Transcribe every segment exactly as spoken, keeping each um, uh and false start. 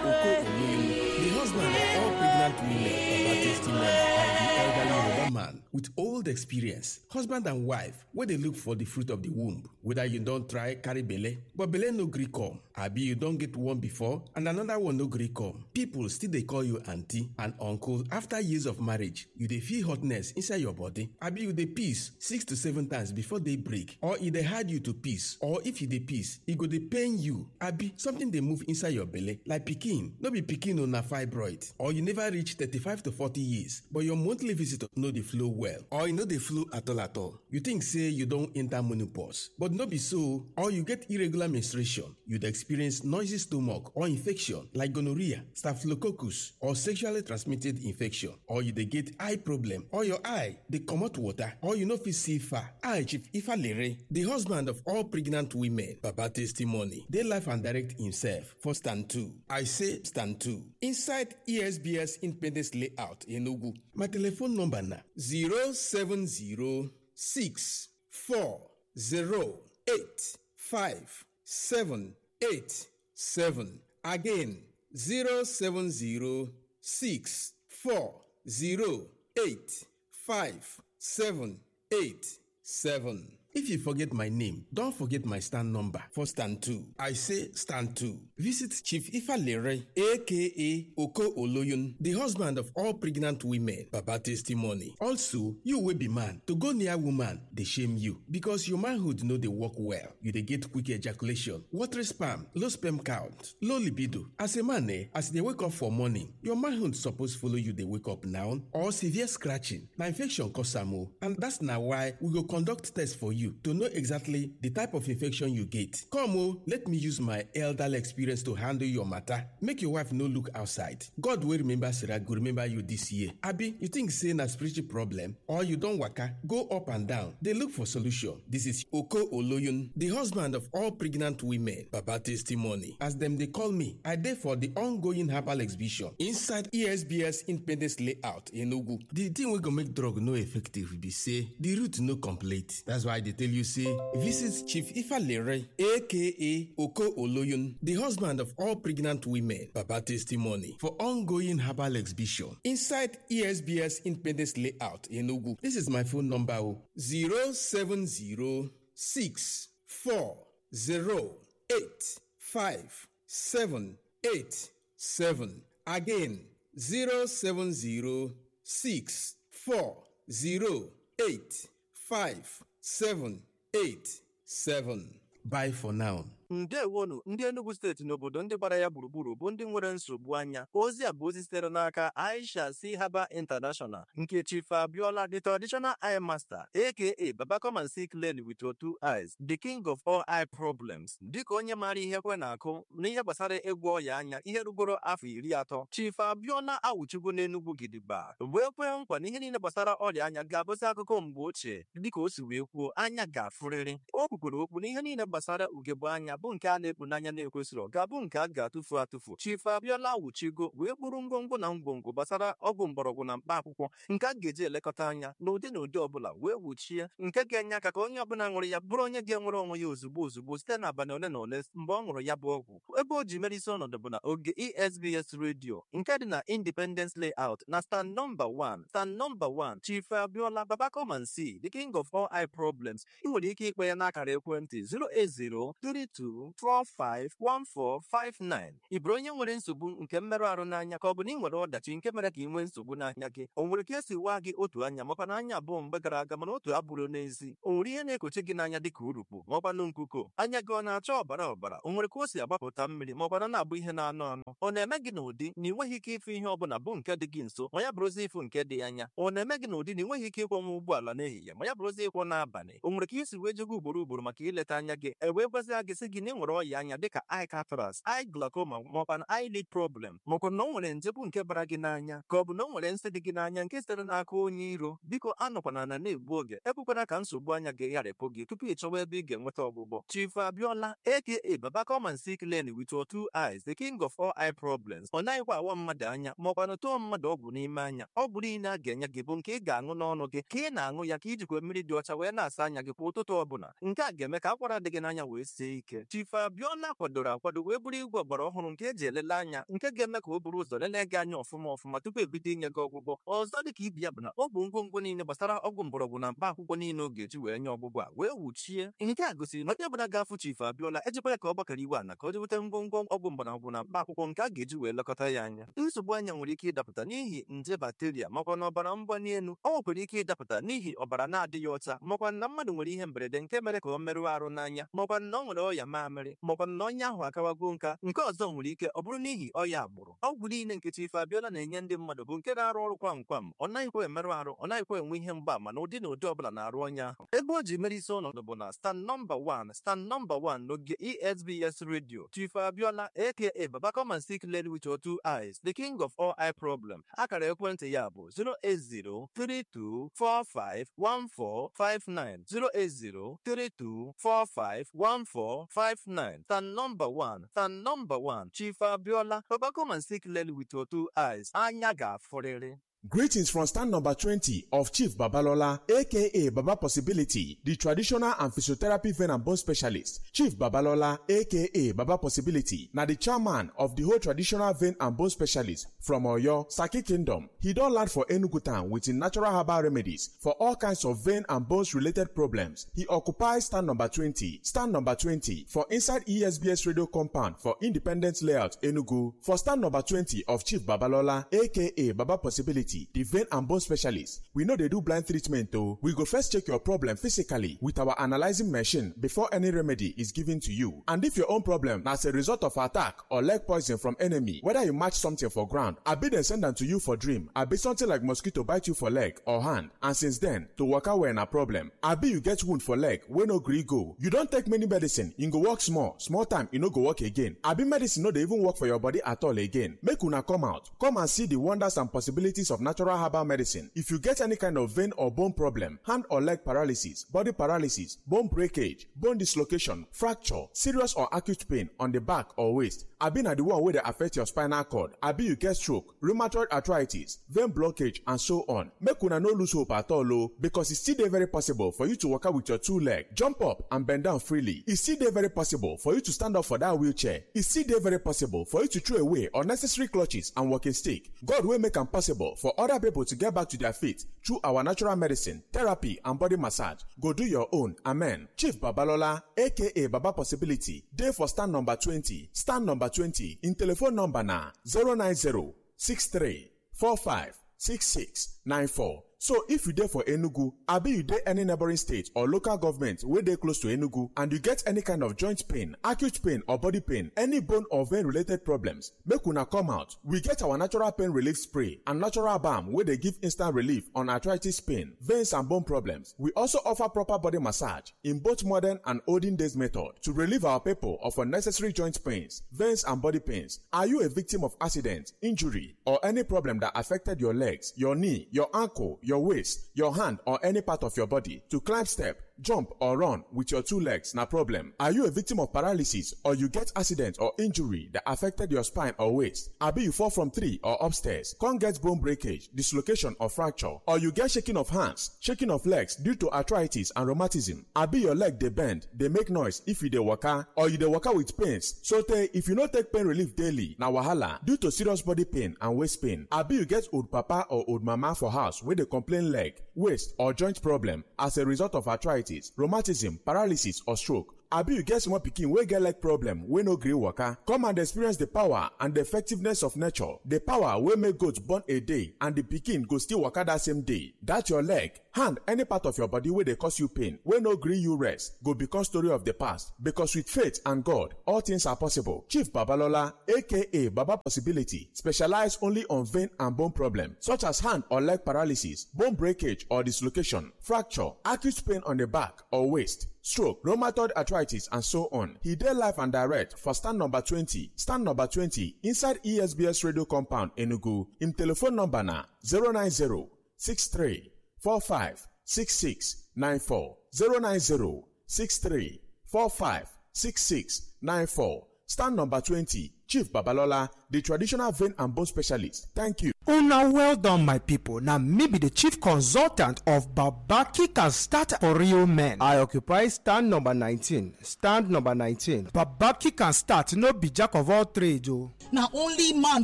Oko Oloyun, the husband of all pregnant women, Baba Testimony, and the elderly Yoruba man with old experience. Husband and wife, where they look for the fruit of the womb. Whether you don't try carry belle, but belle no gree come. Abi you don't get one before and another one no gree come. People still they call you auntie and uncle after years of marriage. You dey feel hotness inside your body. Abi you dey piss six to seven times before day break. Or e dey hard you to piss. Or if you dey piss, e go dey pain you. Abi something dey move inside your belle like pikin. No be pikin o, na fibroid. Or you never reach thirty-five to forty years, but your monthly visit no dey flow well. Or e no dey flow at all at all. You think say you don enter menopause, but no be so. Or you get irregular menstruation. You dey experience noisy stomach or infection like gonorrhea, staphylococcus, or sexually transmitted infection. Or you dey get eye problem, or your eye dey comot water, or you no fit see far. I, Chief Ifalere, the husband of all pregnant women, Baba Testimony, dey life and direct himself for stand two. I say stand two. Inside E S B S Independence Layout, Enugu. My telephone number na zero seven zero six four zero eight five seven eight seven. Again, zero seven zero six four zero eight five seven eight seven. If you forget my name, don't forget my stand number for stand two. I say stand two. Visit Chief Ifalere, A K A Oko Oloyun, the husband of all pregnant women, Baba Testimony. Also, you will be man. To go near woman, they shame you because your manhood no dey work well. You dey get quick ejaculation, watery sperm, low sperm count, low libido. As a man, eh, as they wake up for morning, your manhood suppose follow you dey wake up now, or severe scratching. Na infection cause am o, and that's na why we go conduct test for you to know exactly the type of infection you get. Come o, let me use my elderly experience to handle your matter. Make your wife no look outside. God wey remember Sarah go remember you this year. Abi, you think say na spiritual problem? Or you don waka, go up and down, dey look for solution? This is Oko Oloyun, the husband of all pregnant women, Baba Testimony. As dem dey call me, I dey for the ongoing herbal exhibition inside E S B S Independence Layout, Enugu. The thing wey go make drug no effective be say the root no complete. That's why I dey tell you say visit Chief Ifalere, A K A Oko Oloyun, the husband of all pregnant women, Baba Testimony, for ongoing herbal exhibition inside E S B S Independence Layout, Enugu. This is my phone number o, zero seven zero six four zero eight five seven eight seven. Again, zero seven zero six four zero eight five seven eight seven. Bye for now. Ndewonu, ndị Enugu steeti n'obodo ndị gbara ya gburugburu bụ ndị nwere nsogbu anya. Ozi a bụ ozi sitere n'aka Aisha C Haba International, nke Chief Abiola, the traditional eye master, A K A Baba Come and See Clearly with Your Two Eyes, the king of all eye problems. Dịka onye maara ihe kwe na-akụ n'ihe gbasara ịgwọ ọya anya ihe rugoro afọ iri atọ, Chief Abiola awụchigo n'Enugu gidigba, wee kwee nkwa na ihe niile gbasara ọrịa anya ga-abụzi akụkọ mgbe ochie. Dịka o si wee kwuo, anya ga-afụrịrị. O kwukwere okwu na ihe niile gbasara ugegbe anya bụ nke a na-ekpu n'anya na-ekwesịrọ ga-abụ nke a ga-atụfu atụfu. Chief Abiola awụchigo wee kpụrụ ngwongwo na ngwongwo gbasara ọgwụ mgbọrọgwụ na mkpa akwụkwọ nke a ga-eji elekọta anya n'ụdị na ụdị ọbụla, wee wuchie, nke ga-enye aka ka onye ọbụla ṅụrụ ya bụrụ onye ga-enwere onwe ya ozugbo ozugbo site n'abalị ole na ole mgbe ọ ṅụrụ ya bụ ọgwụ. Ebe o ji mere isi ọnọdụ bụ na oge E S B S Radio nke dị na Independence Layout na stand number one. Stand number one, Chief Abiola, Baba Come and See, the king of all eye problems. Ị nwere ike ịkpọ ya n'akara ekwentị zero eight zero three two four five one four five nine. Ị bụrụ onye nwere nsogbu nke mmerụ ahụ n'anya, ka ọ bụ na ị nwere ọdachi nke mere ka ị nwee nsogbu n'anya gị, o nwere ka esi waa gị otu anya makwa na anya abụọ mgbe gara aga mana otu abụrụ n'ezi, o nwere ihe na-ekochi gị n'anya dịka urukpu makwanụ nkuko, anya gị ọ na-acha ọbara ọbara, o nwere ka o si agbapụta mmiri makwa na na-abụ ihe na-anọ anọ, ọ na-eme gị n'ụdị na ị nweghị ike ịfụ ihe ọbụla bụ nke dị gị nso ma ya bụrụzi ịfụ nke dị anya, ọ na-eme gị n'ụdị na ị nweghị ike ịkwọnwa ụgbọala n'ehihie ma ya bụrụzi ịkwọ n'abalị, o nwere ka isi wee jego ugboro ugboro maka ileta anya gị, e wee gwazie gị sị gị na ị nwere ọya anya dịka eye cataracts, eye glaucoma makwanụ eyelid problem, makwa na o nwere nje bụ nke bara gị n'anya, ka ọ bụ na o nwere nsị dị gị n'anya nke sitere n'aka onye iro. Biko anọkwana ana na-egbu oge, ekwekwana ka nsogbu anya gị gharịpụ gị tupu ị chọwa ebe ị ga-enweta ọgwụgwọ. Chief Abiola, A K A Baba Come and See Clearly with Your Two Eyes, the king of all eye problems. Ọ naghịkwa awa mmadụ anya makwanụ tụọ mmadụ ọgwụ n'ime anya. Ọgwụ niile a ga-enye gị bụ nke ị ga-aṅụ n'ọnụ gị ka ị na-aṅụ ya ka ijikwa mmiri dị ọcha wee na-asa anya gị kwa ụtụtụ ọbụla. Nke a ga-eme ka akwara dị gị n'anya wee sie ike. Chief Abiola kwadoro akwado wee bụrụ igwe ọgbara ọhụrụ nke eji elele anya, nke ga-eme ka o buru ụzọ lelee gị anya ọfụma ọfụma tupu ebido inye gị ọgwụgwọ. Ọzọ dị ka ibe ya bụ na ọ bụ ngwongwo niile gbasara ọgwụ mgbọrọgwụ na mkpa akwụkwọ niile ọ ga-eji wee nye ọgwụgwọ a wee wuchie. Nke a gosiri na onye ọbụla ga-afụ Chief Abiola ejikwa ya ka ọ gbakọrọ iwe ana ka o jeweta ngwongwo ọgwụ mgbọrọgwụ na mkpa akwụkwọ nke a ga-eji wee lekọta ya anya. Nsogbu anya nwere ike ịdapụta n'ihi nje bacteria makwa na ọbara mgbali elu. Ọ nwekwara ike ịdapụta n'ihi ọbara na-adịghị ọcha makwa na mmadụ nwere ihe mberede nke mere ka ọ merụọ arụ n'anya makwa na ọ nwere ọya mamịrị makwa na onye ahụ akawago nka. Nke ọzọ nwere ike ọ bụrụ n'ihi ọya agbụrụ. Ọgwụ niile nke Chief Abiola na-enye ndị mmadụ bụ nke na-arụ ọrụ kwam kwam. Ọ naghịkwa emerụ arụ, ọ naghịkwa enwe ihe mgbaama na ụdị na ụdị ọbụla na-arụ onye ahụ. Ebe o ji mere isi ọnọdụ bụ na stand number one, stand number one n'oge E S B S Radio, Chief Abiola, A K A Baba Come and See Clearly with Your Two Eyes, the king of all eye problem. Akara ekwentị ya bụ zero eight zero three two four five one four five nine, zero eight zero three two four five one four five nine. Stand number one, stand number one, Chief Abiola, Baba Come and See Clearly with Your Two Eyes. Anya ga-afụrịrị. Greetings from stand number twenty of Chief Babalola, A K A Baba Possibility, the traditional and physiotherapy vein and bone specialist. Chief Babalola, A K A Baba Possibility, na the chairman of the whole traditional vein and bone specialist from Oyo, Saki Kingdom. He don land for Enugu town with him natural herbal remedies for all kinds of vein and bones related problems. He occupies stand number twenty, stand number twenty for inside E S B S Radio compound for Independence Layout, Enugu. For stand number twenty of Chief Babalola, A K A Baba Possibility, the vein and bone specialist, we no dey do blind treatment o. We go first check your problem physically with our analyzing machine before any remedy is given to you. And if your own problem na as a result of attack or leg poison from enemy, whether you match something for ground, abi dem send am to you for dream, abi something like mosquito bite you for leg or hand, and since then, to waka well na problem, abi you get wound for leg wey no gree go, you don take many medicine, e go work small, small time e no go work again, abi medicine no dey even work for your body at all again, make una come out, come and see the wonders and possibilities of natural herbal medicine. If you get any kind of vein or bone problem, hand or leg paralysis, body paralysis, bone breakage, bone dislocation, fracture, serious or acute pain on the back or waist, abi na the one wey dey affect your spinal cord, abi you get stroke, rheumatoid arthritis, vein blockage, and so on. Make una no lose hope at all o, because e still dey very possible for you to waka with your two leg, jump up and bend down freely. E still dey very possible for you to stand up for that wheelchair. E still dey very possible for you to throw away unnecessary clutches and walking stick. God wey make am possible for other people to get back to their feet through our natural medicine, therapy, and body massage go do your own. Amen. Chief Babalola, A K A Baba Possibility, dey for stand number twenty. Stand number twenty. Im telephone number na zero nine zero six three four five six six nine four. So if you dey for Enugu, abi you dey any neighboring state or local government wey dey close to Enugu, and you get any kind of joint pain, acute pain or body pain, any bone or vein related problems, make una come out. We get our natural pain relief spray and natural balm wey dey give instant relief on arthritis pain, veins and bone problems. We also offer proper body massage in both modern and olden days method to relieve our people of unnecessary joint pains, veins and body pains. Are you a victim of accident, injury, or any problem that affected your legs, your knee, your ankle, your waist, your hand, or any part of your body? To climb step, jump or run with your two legs na problem. Are you a victim of paralysis or you get accident or injury that affected your spine or waist? Abi you fall from tree or upstairs, come get bone breakage, dislocation or fracture, or you get shaking of hands, shaking of legs due to arthritis and rheumatism? Abi your leg dey bend, dey make noise if you dey waka, or you dey waka with pains, so tey if you no take pain relief daily, na wahala due to serious body pain and waist pain. Abi you get old papa or old mama for house wey dey complain leg, waist, or joint problem as a result of arthritis, rheumatism, paralysis, or stroke? Abi you get small pikin wey get leg problem wey no gree waka? Come and experience the power and the effectiveness of nature, the power wey make goat born a day and the pikin go still waka that same day. That your leg, hand, any part of your body wey dey cause you pain, wey no gree you rest, go become story of the past, because with faith and God, all things are possible. Chief Babalola, A K A Baba Possibility, specialize only on vein and bone problem, such as hand or leg paralysis, bone breakage or dislocation, fracture, acute pain on the back or waist, stroke, rheumatoid arthritis, and so on. He dey live and direct for stand number twenty, stand number twenty, inside E S B S Radio Compound, Enugu. Im telephone number na zero nine zero six three four five six six nine four, zero nine zero six three four five six six nine four. Stand number twenty, Chief Babalola, the traditional vein and bone specialist. Thank you. Now, well done, my people. Now, me be the chief consultant of Baba Kick and Start for Real Men. I occupy stand number nineteen. Stand number nineteen. Baba Kick and Start, no be jack of all trades, oh. Na only man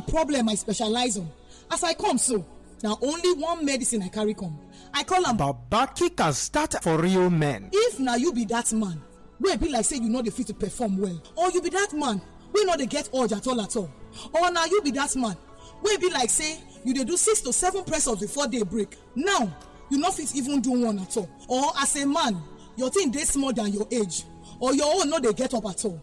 problem I specialize on. As I come so, na only one medicine I carry come. I call am Baba Kick and Start for Real Men. If na you be that man wey be like say you no dey fit to perform well, or you be that man wey no dey get urge at all at all, or na you be that man wey be like say you dey do six to seven press ups before day break, now you no fit even do one at all, or as a man, your thing dey small than your age, or your own no dey get up at all,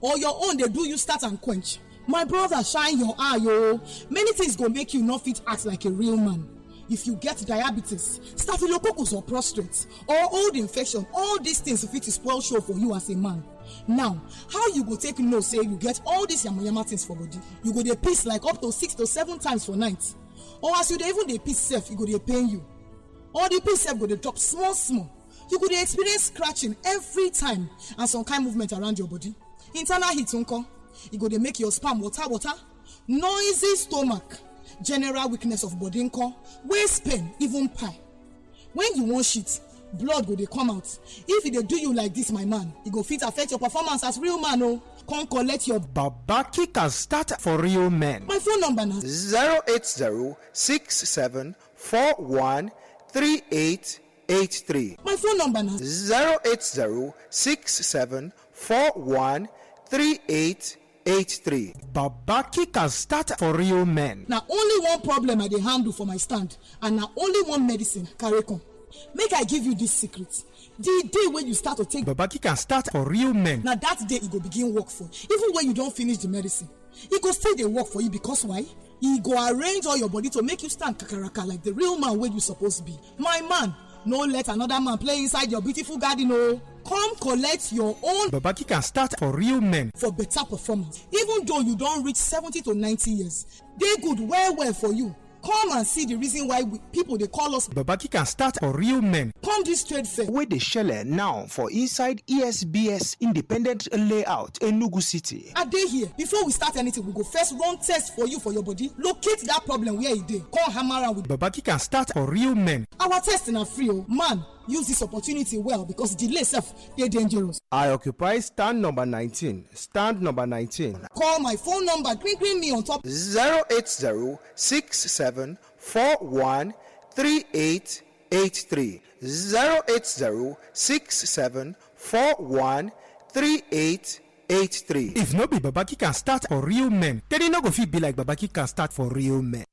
or your own dey do you start and quench. My brother, shine your eye, oh. Many things go make you no fit act like a real man. If you get diabetes, staphylococcus or prostate, or old infection, all these things fit to spoil show for you as a man. Now, how you go take know say you get all these yamayama things for body? You go dey piss like up to six to seven times for night. Or as you dey even dey piss sef, e go dey pain you. Or the piss sef go dey drop small small. You go dey experience scratching every time and some kind movement around your body. Internal heat nko? E go dey make your sperm water water. Noisy stomach, general weakness of body nko, waist pain, even pie. When you wan shit, blood go dey come out. If e dey do you like this, my man, e go fit affect your performance as real man o. Come collect your Baba Kick and Start for Real Men. My phone number na zero eight zero six seven four one three eight eight three. My phone number na zero eight zero six seven four one three eight eight three. Baba Kick and Start for Real Men. Na only one problem I dey handle for my stand, and na only one medicine I carry come. Make I give you this secret. The day wey you start to take Baba Kick and Start for Real Men, na that day e go begin work for you. Even when you don finish the medicine, e go still dey work for you, because why? E go arrange all your body to make you stand kakaraka like the real man wey you suppose be. My man, no let another man play inside your beautiful garden o. Come collect your own Baba Kick and Start for Real Men for better performance. Even though you don reach seventy to ninety years, dey good well well for you. Come and see the reason why we, people dey call us Baba Kick and Start for Real Men. Come this trade fair wey dey shele now for inside E S B S Independent Layout, Enugu City. I dey here. Before we start anything, we go first run test for you for your body, locate that problem where e dey, come hammer am with Baba Kick and Start for Real Men. Our test na free o. Man, use this opportunity well, because delay sef dey dangerous. I occupy stand number nineteen. Stand number nineteen. Call my phone number, green green me on top. Zero eight zero six seven four one three eight eight three. Zero eight zero six seven four one three eight eight three. If no be Baba Kick and Start for Real Men, then e no go fit be like Baba Kick and Start for Real Men.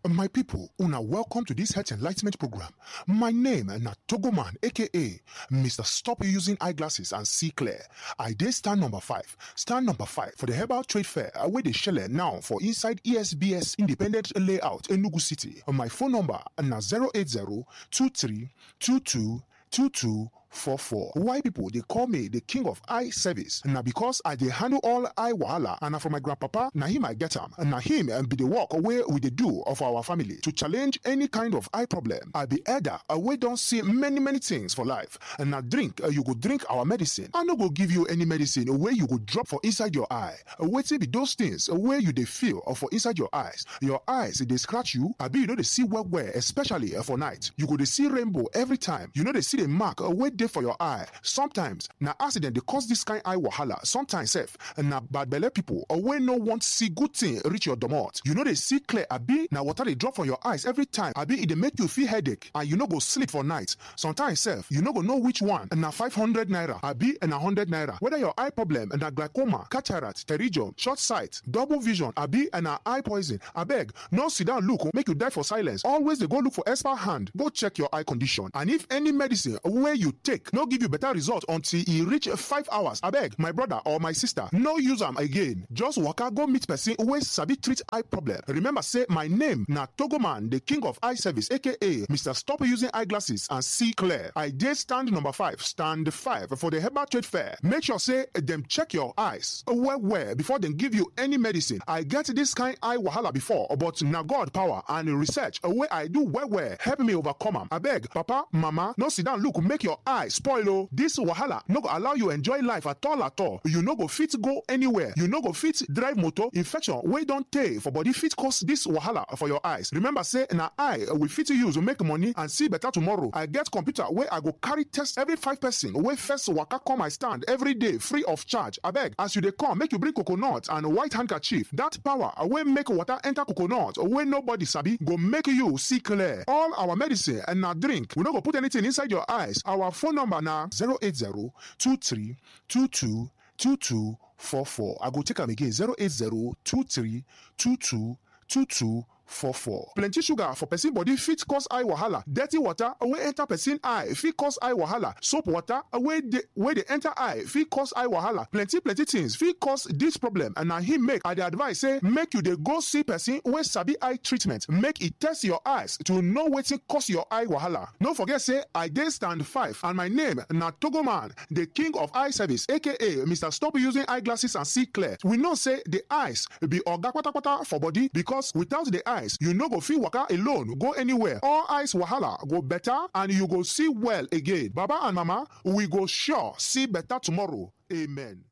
My people, una welcome to this health enlightenment program. My name na Togoman, A K A Mister Stop Using Eyeglasses and See Clear. I dey stand number five. Stand number five for the Herbal Trade Fair, uh, wey dey shele now for inside E S B S Independent Layout, Enugu City. My phone number na zero eight zero two three two two two two four four. Why people dey call me the king of eye service? Na because I dey handle all eye wahala, and na from my grandpapa, na him I get am. Na him, um, be the work wey we dey do of our family to challenge any kind of eye problem. I be elder, uh, wey don see many, many things for life. And na drink, uh, you go drink our medicine. I no go give you any medicine wey you go drop for inside your eye. Uh, wetin be those things, uh, wey you dey feel, uh, for inside your eyes? Your eyes dey scratch you, abi you no dey see well well, especially, uh, for night. You go dey see rainbow every time. You no dey see the mark, uh, wey dey for your eye. Sometimes na accident dey cause this kind eye wahala. Sometimes sef na bad belle people, uh, wey no want see good thing reach your domot. You no dey see clear, abi na water dey drop from your eyes every time, abi e dey make you feel headache and you no go sleep for night. Sometimes sef, you no go know which one na five hundred naira, abi na hundred naira. Whether your eye problem na glaucoma, cataract, pterygium, short sight, double vision, abi na eye poison, abeg, no sit down look, make you die for silence. Always dey go look for expert hand. Go check your eye condition. And if any medicine wey you take no give you better result until e reach five hours, abeg, my brother or my sister, no use am again. Just waka go meet person wey sabi treat eye problem. Remember say my name na Togoman, the king of eye service, A K A Mister Stop Using Eyeglasses and See Clear. I dey stand number five, stand five for the Herbal Trade Fair. Make sure say dem check your eyes well well before dem give you any medicine. I get this kind eye wahala before, but na God power and research wey I do well well help me overcome am. Abeg, papa, mama, no sit down look, make your eye spoil o. This wahala no go allow you enjoy life at all at all. You no go fit go anywhere. You no go fit drive motor. Infection wey don tey for body fit cause this wahala for your eyes. Remember say na eye we fit use make money and see better tomorrow. I get computer wey I go carry test every five person wey first waka come my stand every day free of charge. Abeg, as you dey come, make you bring coconut and white handkerchief. That power wey make water enter coconut wey nobody sabi go make you see clear. All our medicine and na drink. We no go put anything inside your eyes. Our phone number na zero eight zero two three two two two two four four. I go take am again, zero eight zero two three two two two two four four. Plenty sugar for person body fit cause eye wahala. Dirty water wey enter person eye fit cause eye wahala. Soap water wey dey wey dey enter eye fit cause eye wahala. Plenty plenty things fit cause this problem, and na him make I dey advise say make you dey go see person wey sabi eye treatment, make e test your eyes to know wetin cause your eye wahala. No forget say I dey stand five, and my name na Togoman, the king of eye service, aka Mister Stop Using Eyeglasses and See Clear. We know say the eyes be oga patapata for body, because without the eyes, you no go fit waka alone go anywhere. All eyes wahala go better and you go see well again. Baba and mama, we go sure see better tomorrow. Amen.